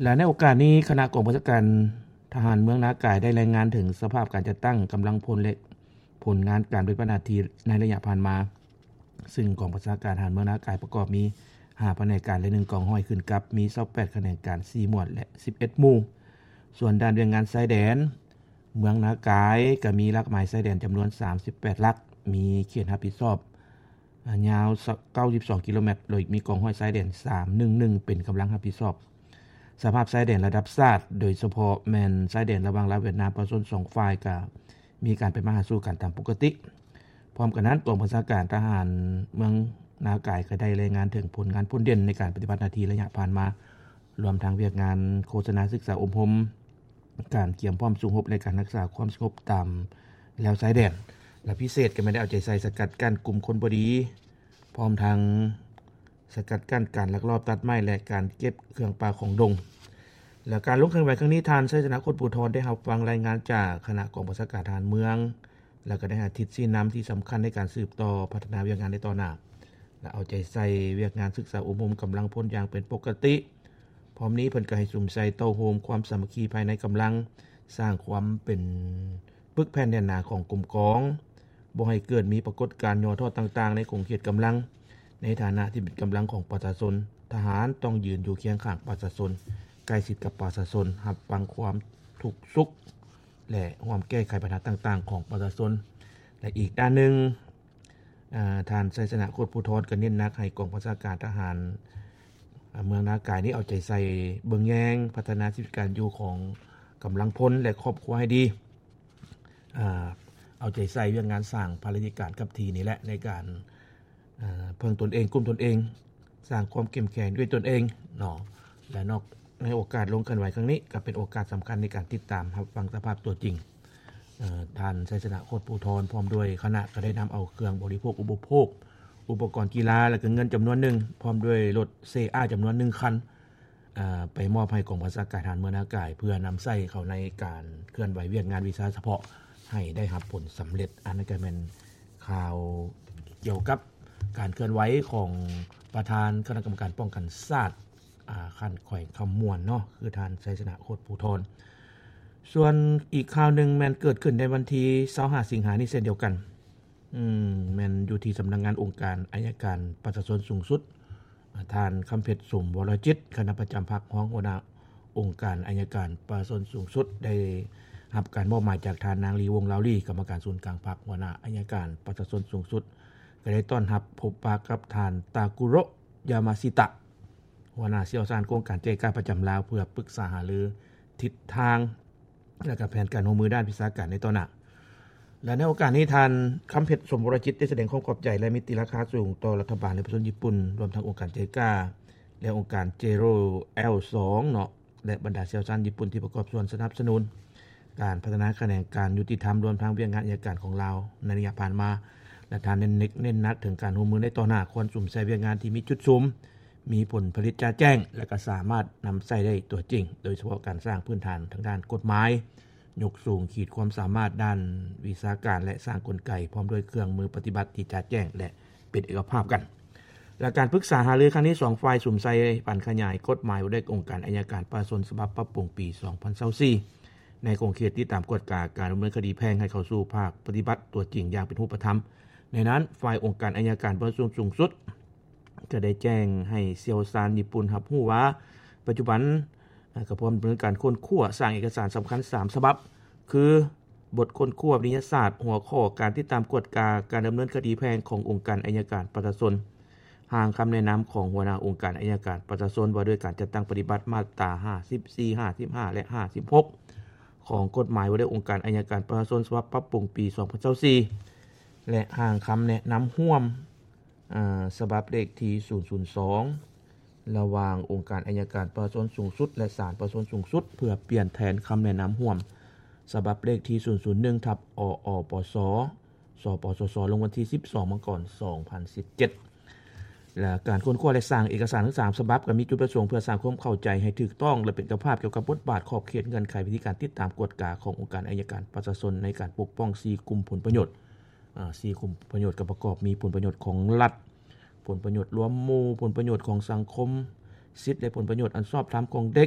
ແລະໃນໂອກາດນີ້ ຄະນະກອງບັນຊາການທະຫານເມືອງນາກາຍ ໄດ້ລາຍງານເຖິງສະພາບການຈັດຕັ້ງກຳລັງພົນ ແລະ ຜົນງານການປະຕິບັດໜ້າທີ່ໃນໄລຍະຜ່ານມາ, ຊຶ່ງກອງບັນຊາການທະຫານເມືອງນາກາຍປະກອບມີຫ້າພະແນກການ ແລະ ໜຶ່ງກອງຮ້ອຍຂຶ້ນກັບ, ມີຊາວແປດຂະແໜງການ ສີ່ໝວດ ແລະ ສິບເອັດໝູ່. ສ່ວນດ່ານວຽກງານຊາຍແດນເມືອງນາກາຍ ກໍມີຫຼັກໝາຍຊາຍແດນຈຳນວນສາມສິບແປດຫຼັກ, ມີເຂດຮັບຜິດຊອບ ອາ ຍາວເກົ້າສິບສອງກິໂລແມັດ, ໂດຍມີກອງຮ້ອຍຊາຍແດນສາມໜຶ່ງໜຶ່ງເປັນກຳລັງຮັບຜິດຊອບ. ສະພາບຊາຍແດນລະດັບຊາດ, ໂດຍສະເພາະແມ່ນຊາຍແດນລະຫວ່າງລາວຫວຽດນາມ, ປະຊາຊົນສອງຝ່າຍກໍມີການໄປມາຫາສູ່ກັນຕາມປົກກະຕິ. ພ້ອມກັນນັ້ນ, ກອງບັນຊາການທະຫານເມືອງນາກາຍກໍໄດ້ລາຍງານເຖິງຜົນງານພົ້ນເດັ່ນໃນການປະຕິບັດໜ້າທີ່ໄລຍະຜ່ານມາ, ລວມທັງວຽກງານໂຄສະນາສຶກສາອົບຮົມ, ການກຽມພ້ອມສູ້ຮົບ ແລະ ການຮັກສາຄວາມສະຫງົບຕາມແລວຊາຍແດນ ແລະ ພິເສດກໍແມ່ນໄດ້ເອົາໃຈໃສ່ສະກັດກັ້ນກຸ່ມຄົນບໍ່ດີ, ພ້ອມທັງສະກັດກັ້ນການລັກລອບຕັດໄມ້ ແລະ ການເກັບເຄື່ອງປ່າຂອງດົງ. ແລະ ການລົງເຄື່ອນໄຫວຄັ້ງນີ້, ທ່ານ ໄຊຊະນະ ໂຄດພູທອນ ໄດ້ຮັບຟັງລາຍງານຈາກຄະນະກອງບັນຊາການທະຫານເມືອງ ແລະ ກໍໄດ້ໃຫ້ທິດຊີ້ນຳທີ່ສຳຄັນໃນການສືບຕໍ່ພັດທະນາວຽກງານໃນຕໍ່ໜ້າ ແລະ ເອົາໃຈໃສ່ວຽກງານສຶກສາອົບຮົມກຳລັງພົນຢ່າງເປັນປົກກະຕິ. ພ້ອມນີ້ເພິ່ນກໍໃຫ້ສຸມໃສ່ເຕົ້າໂຮມຄວາມສາມັກຄີພາຍໃນກຳລັງ, ສ້າງຄວາມເປັນປຶກແຜ່ນແໜ້ນໜາຂອງກົມກອງ, ບໍ່ໃຫ້ເກີດມີປາກົດການຫຍໍ້ທໍ້ຕ່າງໆໃນຂົງເຂດກຳລັງ. ໃນຖານະທີ່ເປັນກຳລັງຂອງປະຊາຊົນ, ທະຫານຕ້ອງຢືນຢູ່ຄຽງຂ້າງປະຊາຊົນ, ໃກ້ຊິດກັບປະຊາຊົນ, ຮັບຟັງຄວາມທຸກສຸກ ແລະ ຮ່ວມແກ້ໄຂບັນຫາຕ່າງໆຂອງປະຊາຊົນ. ແລະ ອີກດ້ານໜຶ່ງ, ອາ, ທ່ານ ໄຊຊະນະ ໂຄດພູທອນ ກໍເນັ້ນໜັກໃຫ້ກອງບັນຊາການທະຫານ ອາ ເມືອງນາກາຍນີ້ເອົາໃຈໃສ່ເບິ່ງແຍງພັດທະນາຊີວິດການຢູ່ຂອງກຳລັງພົນ ແລະ ຄອບຄົວໃຫ້ດີ, ອາ, ເອົາໃຈໃສ່ວຽກງານສ້າງພາລະກິດການກັບທີ່ນີ້ແຫຼະ ໃນການ ເອີ່ ເພິ່ງຕົນເອງ, ກຸ້ມຕົນເອງ, ສ້າງຄວາມເຂັ້ມແຂງດ້ວຍຕົນເອງເນາະ ແລະ ນອກ ໃນໂອກາດລົງເຄື່ອນໄຫວຄັ້ງນີ້ ກໍເປັນໂອກາດສຳຄັນໃນການຕິດຕາມຮັບຟັງສະພາບຕົວຈິງ. ເອີ່ ທ່ານ ໄຊຊະນະ ໂຄດພູທອນ ພ້ອມດ້ວຍຄະນະ ກໍໄດ້ນຳເອົາເຄື່ອງບໍລິໂພກອຸປະໂພກ, ອຸປະກອນກິລາ ແລະ ກໍເງິນຈຳນວນໜຶ່ງ, ພ້ອມດ້ວຍລົດເຊອາ ຈຳນວນໜຶ່ງຄັນ, ເອີ່ ໄປມອບໃຫ້ກອງບັນຊາການທະຫານເມືອງນາກາຍ ເພື່ອນຳໃຊ້ເຂົ້າໃນການເຄື່ອນໄຫວວຽກງານວິຊາສະເພາະໃຫ້ໄດ້ຮັບຜົນສຳເລັດ. ອັນນັ້ນກໍແມ່ນຂ່າວກ່ຽວກັບການເຄື່ອນໄຫວຂອງປະທານຄະນະກຳມະການປ້ອງກັນຊາດ ອາ ຂັ້ນແຂວງຄຳມ່ວນເນາະ ຄືທ່ານ ໄຊຊະນະ ໂຄດພູທອນ. ສ່ວນອີກຂ່າວໜຶ່ງແມ່ນເກີດຂຶ້ນໃນວັນທີຊາວຫ້າ ສິງຫານີ້ເຊັ່ນດຽວກັນ. ອືມ ແມ່ນຢູ່ທີ່ສຳນັກງານອົງການໄອຍະການປະຊາຊົນສູງສຸດ, ທ່ານ ຄຳເພັດ ສົມວໍລະຈິດ, ຄະນະປະຈຳພັກ, ຮອງຫົວໜ້າອົງການໄອຍະການປະຊາຊົນສູງສຸດ, ໄດ້ຮັບການມອບໝາຍຈາກທ່ານນາງ ລີ ວົງລາວລີ, ກຳມະການສູນກາງພັກ, ຫົວໜ້າໄອຍະການປະຊາຊົນສູງສຸດ, ກໍໄດ້ຕ້ອນຮັບພົບປະກັບທ່ານ ຕາກຸໂຣະ ຢາມາຊິຕະ, ຫົວໜ້າຊ່ຽວຊານໂຄງການແຈ້ງການປະຈຳລາວ ເພື່ອປຶກສາຫາລືທິດທາງ ແລະ ກະແຜນການຮ່ວມມືດ້ານວິຊາການໃນຕໍ່ໜ້າ. ແລະ ໃນໂອກາດນີ້ ທ່ານ ຄຳເພັດ ສົມວໍລະຈິດ ໄດ້ສະແດງຄວາມຂອບໃຈ ແລະ ມີຕິລາຄາສູງຕໍ່ລັດຖະບານ ແລະ ປະຊາຊົນຍີ່ປຸ່ນ, ລວມທັງອົງການ ເຈກາ ແລະ ອົງການ ເຈໂຣ ແອລສອງ ເນາະ ແລະ ບັນດາຊ່ຽວຊານຍີ່ປຸ່ນທີ່ປະກອບສ່ວນສະໜັບສະໜູນການພັດທະນາຂະແໜງການຍຸຕິທຳ ລວມທັງວຽກງານໄອຍະການຂອງລາວໃນໄລຍະຜ່ານມາ ແລະ ທ່ານເນັ້ນ ເນັ້ນໜັກເຖິງການຮ່ວມມືໃນຕໍ່ໜ້າ, ຄວນສຸມໃສ່ວຽກງານທີ່ມີຈຸດສຸມ, ມີຜົນຜະລິດຈະແຈ້ງ ແລະ ກໍສາມາດນຳໃຊ້ໄດ້ຕົວຈິງ, ໂດຍສະເພາະການສ້າງພື້ນຖານທາງດ້ານກົດໝາຍ, ຍົກສູງຂີດຄວາມສາມາດດ້ານວິຊາການ ແລະ ສ້າງກົນໄກ ພ້ອມດ້ວຍເຄື່ອງມືປະຕິບັດທີ່ຈະແຈ້ງ ແລະ ເປັນເອກະພາບກັນ. ແລະ ການປຶກສາຫາລືຄັ້ງນີ້ ສອງຝ່າຍສຸມໃສ່ປັນຂະຫຍາຍກົດໝາຍວ່າດ້ວຍອົງການໄອຍະການປະຊາຊົນ ສະບັບປັບປຸງປີສອງພັນຊາວສີ່ ໃນຂົງເຂດຕິດຕາມກວດກາການດຳເນີນຄະດີແພ່ງໃຫ້ເຂົ້າສູ່ພາກປະຕິບັດຕົວຈິງຢ່າງເປັນຮູບປະທຳ. ໃນນັ້ນ, ຝ່າຍອົງການໄອຍະການປະຊາຊົນສູງສຸດ ຈະໄດ້ແຈ້ງໃຫ້ຊ່ຽວຊານຍີ່ປຸ່ນຮັບຮູ້ວ່າ ປັດຈຸບັນ ກໍພວມດຳເນີນການຄົ້ນຄວ້າ, ສ້າງເອກະສານສຳຄັນສາມສະບັບ ຄື ບົດຄົ້ນຄວ້າວິທະຍາສາດ, ຫົວຂໍ້ການຕິດຕາມກວດກາການດຳເນີນຄະດີແພ່ງຂອງອົງການໄອຍະການປະຊາຊົນ, ຮ່າງຄຳແນະນຳຂອງຫົວໜ້າອົງການໄອຍະການປະຊາຊົນ ວ່າດ້ວຍການຈັດຕັ້ງປະຕິບັດ ມາດຕາຫ້າສິບສີ່, ຫ້າສິບຫ້າ ແລະ ຫ້າສິບຫົກ ຂອງກົດໝາຍວ່າດ້ວຍອົງການໄອຍະການປະຊາຊົນ ສະບັບປັບປຸງປີສອງພັນຊາວສີ່ ແລະ ຮ່າງຄຳແນະນຳຮ່ວມ ອາ ສະບັບເລກທີສູນສູນສອງ ລະຫວ່າງອົງການໄອຍະການປະຊາຊົນສູງສຸດ ແລະ ສານປະຊາຊົນສູງສຸດ ເພື່ອປ່ຽນແທນຄຳແນະນຳຮ່ວມ ສະບັບເລກທີສູນສູນໜຶ່ງ ທັບ ອອປສ ສປສຊ ລົງວັນທີສິບສອງ ມັງກອນ ສອງພັນສິບເຈັດ. ແລະ ການຄົ້ນຄວ້າ ແລະ ສ້າງເອກະສານທັງສາມສະບັບ ກໍມີຈຸດປະສົງເພື່ອສ້າງຄວາມເຂົ້າໃຈໃຫ້ຖືກຕ້ອງ ແລະ ເປັນເອກະພາບກ່ຽວກັບບົດບາດ, ຂອບເຂດ, ເງື່ອນໄຂ, ວິທີການຕິດຕາມກວດກາຂອງອົງການໄອຍະການປະຊາຊົນໃນການປົກປ້ອງສີ່ກຸ່ມຜົນປະໂຫຍດ. ອາ ສີ່ກຸ່ມປະໂຫຍດກໍປະກອບມີຜົນປະໂຫຍດຂອງລັດ, ຜົນປະໂຫຍດລວມໝູ່, ຜົນປະໂຫຍດຂອງສັງຄົມ, ສິດ ແລະ ຜົນປະໂຫຍດອັນຊອບທຳຂອງເດັກ,